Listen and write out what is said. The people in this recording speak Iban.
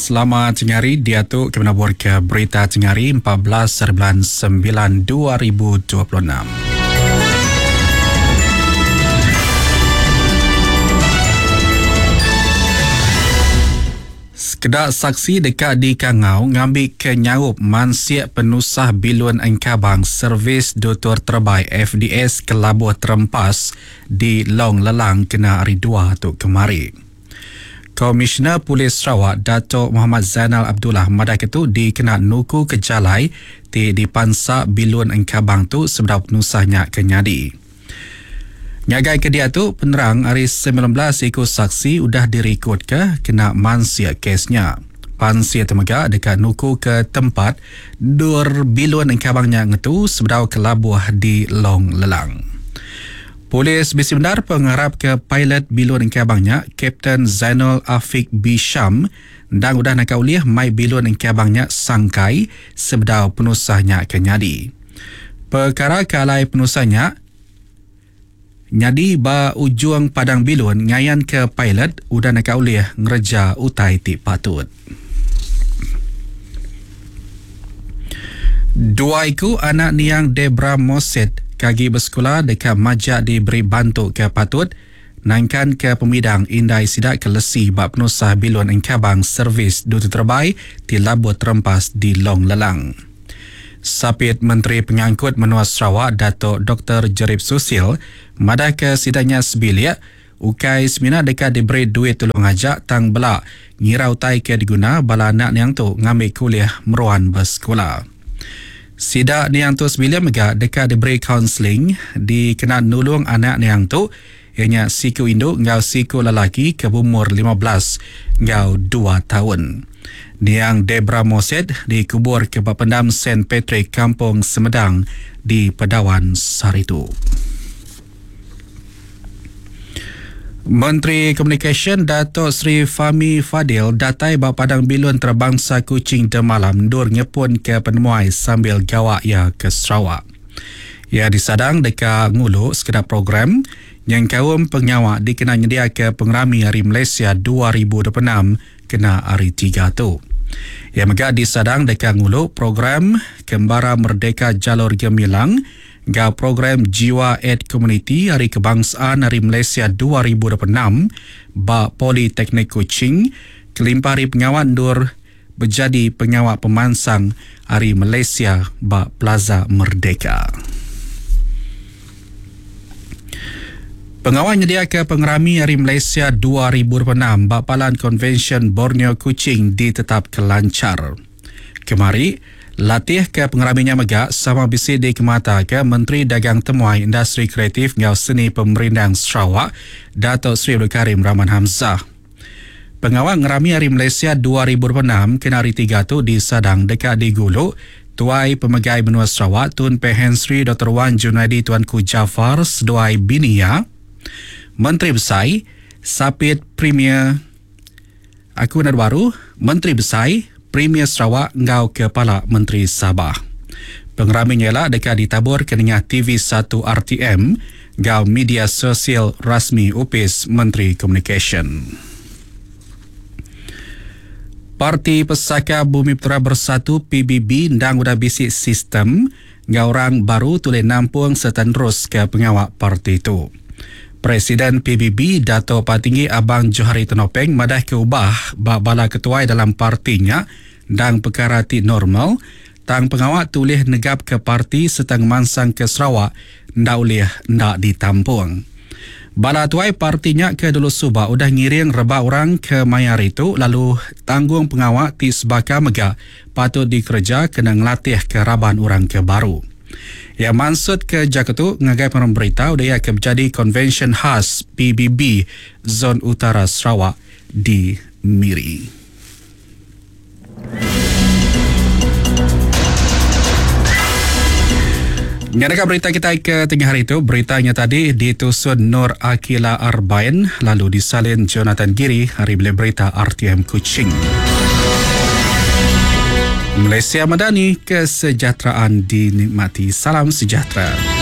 Selamat tengah hari diatu ke menabur ke berita tengah hari 14 hari bulan 9 2026. Sekeda saksi deka dikangau ngambika nyaup mansik penusah bilun engkabang Servis Dutur Terebai FDS ke labuh terempas di Long Lelang kena Hari Dua tu kemari. Komisioner Polis Sarawak Datuk Mohamad Zainal Abdullah madahka tu dikena nukuka jalai ti dipansa bilun engkabang tu sebedau penusah nya ke nyadi. Ngagai ke diatu, penerang ari 19 iku saksi udah dirikodka kena mansik kes nya. Pansik tu mega deka nukuka tempat endur bilun engkabang nya ngetu sebedau ke labuh di Long Lelang. Polis bisi bendar pengarapka pilot bilun engkabang nya, Kapten Zainul Afiq Bisham endang udah naka ulih mai bilun engkabang nya sangkai sebedau penusah nya ke nyadi. Pekara ke alai penusah nya nyadi ba ujung padang bilun ngayanka pilot udah naka ulih ngereja utai ti patut. Dua iku anak niang Debra Moset ke agi besekula deka majak diberi bantu ke patut nangkanka pemidang indai sida ke lesi ba penusah bilun engkabang servis duta terebai ti labuh terempas di Long Lelang. Sapit Menteri Pengangkut Menua Sarawak Datuk Doktor Jerip Susil madahka sida nya sebilik ukai semina deka diberi duit tulung aja tang bela ngira utai ke diguna bala anak niang tu ngambika ulih meruan besekula. Sida niang tu sebilik mega deka diberi kaunseling dikena nulung anak niang tu iya nya siku indu enggau siku lelaki ke beumur 15 enggau dua taun. Niang Debra Moset dikuburka ba Pendam Saint Patrick Kampung Semedang di Pedawan sehari tu. Menteri Komunikasyen Datuk Seri Fahmi Fadil datai ba Padang Bilun Antarabangsa Kuching demalam endur ngepunka penemuai sambil gawa iya ke Sarawak. Iya disadang deka ngulu sekeda program nyengkaum pengawa dikena nyediaka Pengerami Hari Malaysia 2026 kena Hari Tiga tu. Iya mega disadang deka ngulu program Kembara Merdeka Jalur Gemilang enggau program Jiwa Ed Komuniti Hari Kebangsaan Hari Malaysia 2026 ba Politeknik Kuching kelimpah ari pengawa endur bejadi pengawa pemansang Hari Malaysia ba Plaza Merdeka. Pengawa nyediaka Pengerami Hari Malaysia 2026 ba Palan Konvensyen Borneo Kuching ditetapka lanchar. Kemari, latih ke pengerami nya mega sama bisi dikemataka Menteri Dagang Temuai Industri Kreatif enggau Seni Pemerindang Sarawak, Datuk Seri Abdul Karim Rahman Hamzah. Pengawa ngerami Hari Malaysia 2026 kena Hari Tiga tu disadang deka digulu Tuai Pemegai Menua Sarawak Tun Pehin Sri Doktor Wan Junaidi Tuanku Jaafar seduai bini iya, Menteri Besai, Sapit Premier Aku Nadu Baru, Menteri Besai, Premier Sarawak enggau Kepala Menteri Sabah. Pengerami nya ila deka ditaburka nengah TV satu RTM enggau media sosial rasmi Opis Menteri Komunikasyen. Parti Pesaka Bumiputera Bersatu, PBB, endang udah bisi sistem enggau orang baru tulih nampung sereta neruska pengawa parti tu. Presiden PBB Dato Patinggi Abang Johari Tenopeng madahka ubah ba bala ketuai dalam parti nya endang pekara ti normal tang pengawa ti ulih negapka parti sereta ngemansangka Sarawak enda ulih enda ditampung. Bala tuai parti nya ke dulu suba udah ngiring rebak orang ke maya hari tu lalu tanggung pengawa ti sebaka mega patut dikereja kena ngelatihka raban orang ke baru. Iya mansutka jaku tu ngagai pengarang berita udah iya ke bejadi Konvensyen Khas PBB Zon Utara Sarawak di Miri. Nyadaka berita kitai ke tengah hari tu, berita nya tadi ditusun Nur Akila Arbain lalu disalin Jonathan Giri ari Bilik Berita RTM Kuching. Malaysia Madani, kesejahteraan dinikmati. Salam sejahtera.